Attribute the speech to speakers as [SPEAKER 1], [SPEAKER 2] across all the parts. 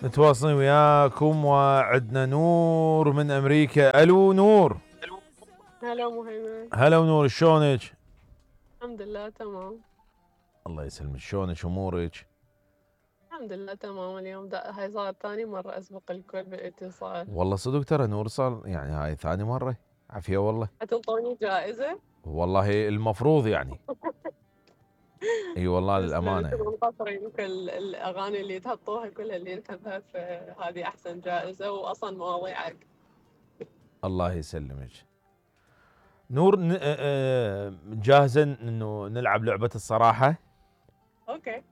[SPEAKER 1] متواصلين وياكم وعدنا نور من امريكا. الو نور.
[SPEAKER 2] هلا مهيمن.
[SPEAKER 1] هلا ونور، شلونك؟
[SPEAKER 2] الحمد لله تمام.
[SPEAKER 1] الله يسلمك، شلونك امورك؟
[SPEAKER 2] الحمد لله تمام. اليوم هاي صارت ثاني مرة أسبق الكل بالاتصال.
[SPEAKER 1] والله صدق ترى نور صار يعني هاي ثاني مرة. عافية والله.
[SPEAKER 2] حتنطوني جائزة؟
[SPEAKER 1] والله المفروض يعني. اي والله
[SPEAKER 2] تسلم،
[SPEAKER 1] للامانة
[SPEAKER 2] انتم
[SPEAKER 1] يعني.
[SPEAKER 2] مقصرين. كل الأغاني اللي تحطوها كلها اللي نحبها، فهذه أحسن جائزة وأصلا مواضيعك.
[SPEAKER 1] الله يسلمك نور. جاهزة انه نلعب لعبة الصراحة؟
[SPEAKER 2] أوكي.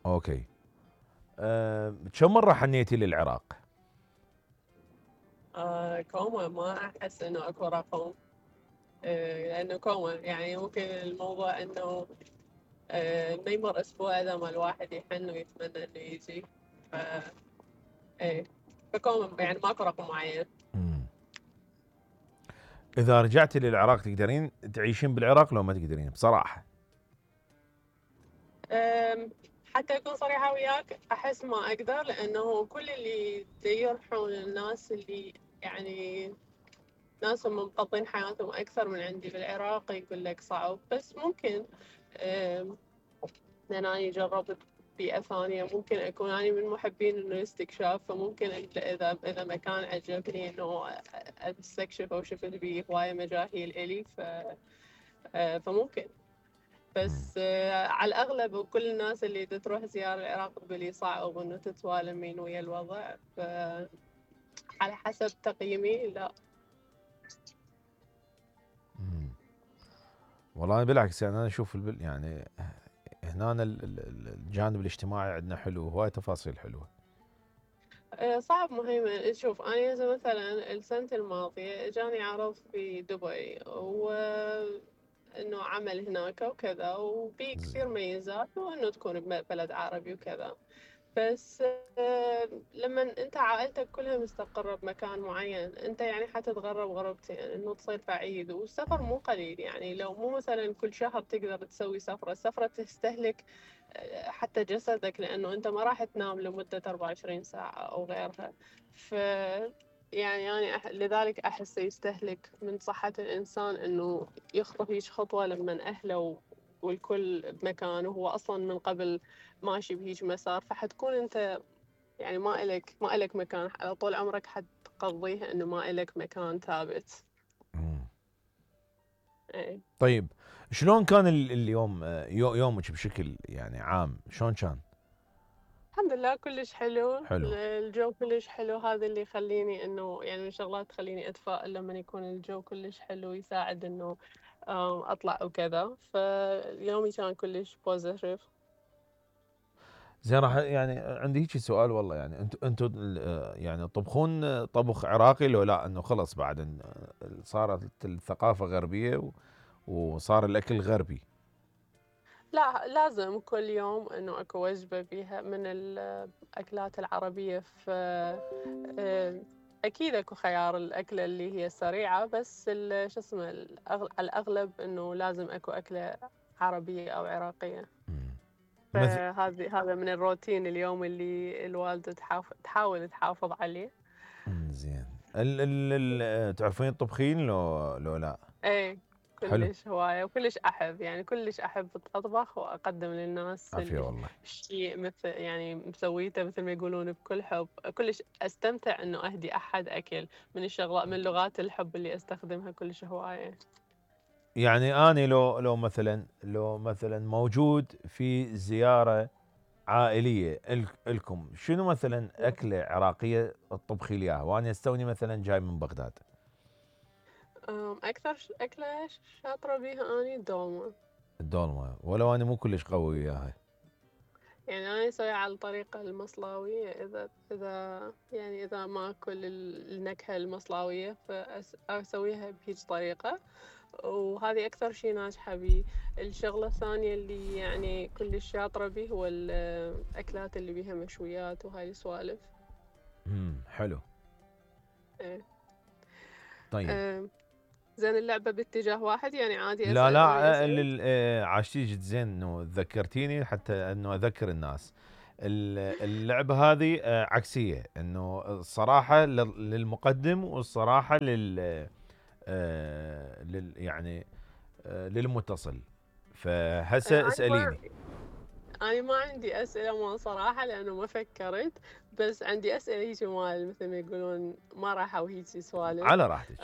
[SPEAKER 1] اوكي. كم مرة حنيتي للعراق؟
[SPEAKER 2] كوما، ما أحس إنه أكو رقم. لأنه كوما يعني ممكن الموضوع إنه ما يمر أسبوع إذا ما الواحد يحن ويتمنى إنه يجي. ف إيه، فكوما يعني ماكو رقم معين.
[SPEAKER 1] إذا رجعتي للعراق تقدرين تعيشين بالعراق لو ما تقدرين بصراحة؟
[SPEAKER 2] حتى أكون صريحة وياك، أحس ما أقدر، لأنه كل اللي يروحون الناس اللي يعني ناسهم مقضين حياتهم أكثر من عندي بالعراق يقول لك صعب. بس ممكن لأن أنا جربت بيئة ثانية، ممكن أكون أنا من محبين إنه الاستكشاف، فممكن إذا مكان عجبني إنه أستكشف أو شفت بيه هواية مجاهيل إلي فممكن. بس على الأغلب كل الناس اللي تروح زيارة العراق تقول لي صعب إنه تتوالمين ويا الوضع، على حسب تقييمي لا.
[SPEAKER 1] والله بالعكس يعني انا اشوف يعني هنا الجانب الاجتماعي عندنا حلو، هواي تفاصيل حلوه.
[SPEAKER 2] صعب مهيمن. شوف أنا هسه مثلا السنة الماضية إجاني عرض في دبي، وإنه عمل هناك وكذا، وفي كثير ميزات وإنه تكون ببلد عربي وكذا. بس لما انت عائلتك كلها مستقرة بمكان معين، انت يعني حتتغرب غربتين، انه تصير بعيد، والسفر مو قليل. يعني لو مو مثلا كل شهر تقدر تسوي سفرة تستهلك حتى جسدك، لانه انت ما راح تنام لمدة 24 ساعة او غيرها. ف يعني أنا لذلك أحس يستهلك من صحة الإنسان إنه يخطو هيج خطوة لما أهله والكل بمكانه، هو أصلا من قبل ماشي بهيج مسار، فحتكون انت يعني ما إلك مكان على طول عمرك، حتقضيه انه ما إلك مكان ثابت. ايه.
[SPEAKER 1] طيب شلون كان اليوم يومك بشكل يعني عام شلون كان؟
[SPEAKER 2] الحمد لله كلش حلو.
[SPEAKER 1] حلو.
[SPEAKER 2] الجو كلش حلو، هذا اللي يخليني انه يعني من شغلات تخليني اتفائل لما يكون الجو كلش حلو، يساعد انه اطلع وكذا. فيومي كان كلش بوزيتيف.
[SPEAKER 1] زين راح يعني عندي هيك سؤال والله، يعني انتم يعني تطبخون طبخ عراقي لو لا انه خلص بعد صارت الثقافة غربية وصار الاكل غربي؟
[SPEAKER 2] لا، لازم كل يوم انه اكو وجبة بيها من الاكلات العربية. اكيد اكو خيار الاكلة اللي هي سريعة، بس شو اسمه على الاغلب انه لازم اكو اكلة عربية او عراقية. هذا من الروتين اليوم اللي الوالدة تحاول تحافظ عليه.
[SPEAKER 1] زين. تعرفين تطبخين لو لا؟
[SPEAKER 2] ايه،
[SPEAKER 1] حلو.
[SPEAKER 2] كلش هواية وكلش أحب، يعني كلش أحب أطبخ وأقدم للناس
[SPEAKER 1] عافية والله.
[SPEAKER 2] الشيء مثل يعني مسويته مثل ما يقولون بكل حب. كلش أستمتع إنه أهدي أحد أكل. من الشغلات من لغات الحب اللي أستخدمها كلش هواية.
[SPEAKER 1] يعني أنا لو مثلا موجود في زيارة عائلية لكم، شنو مثلا أكلة عراقية تطبخي لي إياها وأنا استوني مثلا جاي من بغداد؟
[SPEAKER 2] أكثر أكلة شاطرة بيها أني الدولمة.
[SPEAKER 1] الدولمة، ولو أنا مو كلش قوي وياها.
[SPEAKER 2] يعني أنا أسويها على الطريقة المصلاوية. إذا ما أكل النكهة المصلاوية فأسويها بهيج طريقة، وهذه أكثر شي ناجحة بيه. الشغلة الثانية اللي يعني كلش شاطرة بيه هو الأكلات اللي بيها مشويات وهاي السوالف.
[SPEAKER 1] حلو.
[SPEAKER 2] إيه.
[SPEAKER 1] طيب.
[SPEAKER 2] زين، اللعبة باتجاه واحد يعني عادي
[SPEAKER 1] لا
[SPEAKER 2] أسأل أني
[SPEAKER 1] لا
[SPEAKER 2] أسأل.
[SPEAKER 1] عاشتي جد زين انه ذكرتيني حتى انه اذكر الناس. اللعبة هذه عكسية، انه الصراحة للمقدم والصراحة يعني للمتصل. فهسه اسأليني.
[SPEAKER 2] أنا ما عندي أسئلة ما صراحة لأنه ما فكرت، بس عندي أسئلة هيجي مال مثل ما يقولون مرحة وهيجي سوالف.
[SPEAKER 1] على راحتك.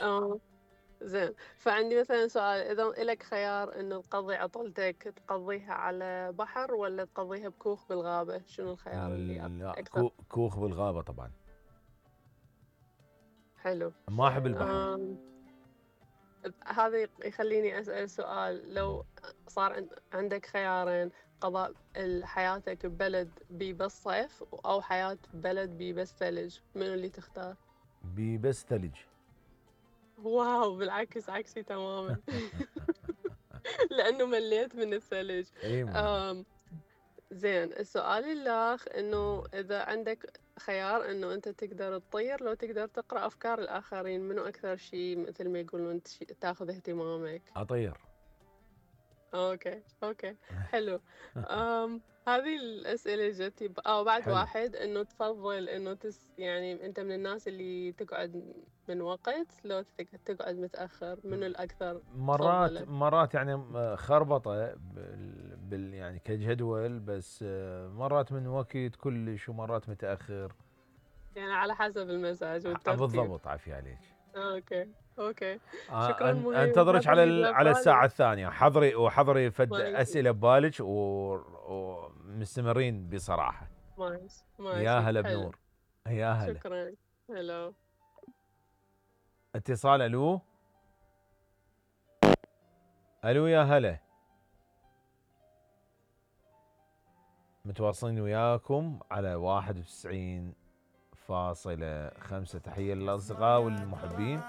[SPEAKER 2] زين، فعندي مثلا سؤال، إذا إلك خيار إنه تقضي عطلتك تقضيها على بحر ولا تقضيها بكوخ بالغابة، شنو الخيار اللي
[SPEAKER 1] لا،
[SPEAKER 2] أكثر؟
[SPEAKER 1] كوخ بالغابة طبعا.
[SPEAKER 2] حلو.
[SPEAKER 1] ما احب البحر.
[SPEAKER 2] هذا يخليني أسأل سؤال، لو صار عندك خيارين، قضاء حياتك ببلد بيه بس صيف أو حياة ببلد بيه بس ثلج، منو اللي تختار؟
[SPEAKER 1] بس ثلج.
[SPEAKER 2] واو، بالعكس عكسي تماما. لأنه مليت من الثلج.
[SPEAKER 1] اي
[SPEAKER 2] زين، السؤال الآخر إنه إذا عندك خيار إنه أنت تقدر تطير لو تقدر تقرأ أفكار الآخرين، منو أكثر شيء مثل ما يقولون تاخذ اهتمامك؟
[SPEAKER 1] اطير.
[SPEAKER 2] اوكي حلو. هذه الأسئلة جتي بعد
[SPEAKER 1] حلو.
[SPEAKER 2] واحد إنه تفضل إنه يعني أنت من الناس اللي تقعد من وقت لو تقعد متأخر، منو الأكثر تفضله؟
[SPEAKER 1] مرات يعني خربطة يعني كجدول، بس مرات من وقت كلش ومرات متأخر.
[SPEAKER 2] يعني على حسب المزاج والترتيب.
[SPEAKER 1] بالضبط، عافية عليك.
[SPEAKER 2] اوكي. شكرا مهيب،
[SPEAKER 1] انتظرك
[SPEAKER 2] هذا اللي جاء
[SPEAKER 1] على الساعة
[SPEAKER 2] ببالي.
[SPEAKER 1] الثانية. حضري فد
[SPEAKER 2] ماشي
[SPEAKER 1] أسئلة ببالك ومستمرين بصراحة. يا
[SPEAKER 2] ماشي
[SPEAKER 1] هلا
[SPEAKER 2] حلو.
[SPEAKER 1] بنور. يا هلا.
[SPEAKER 2] شكرا. هلو.
[SPEAKER 1] اتصال. الو يا هلا. متواصلين وياكم على 91.5. تحية للأصدقاء والمحبين.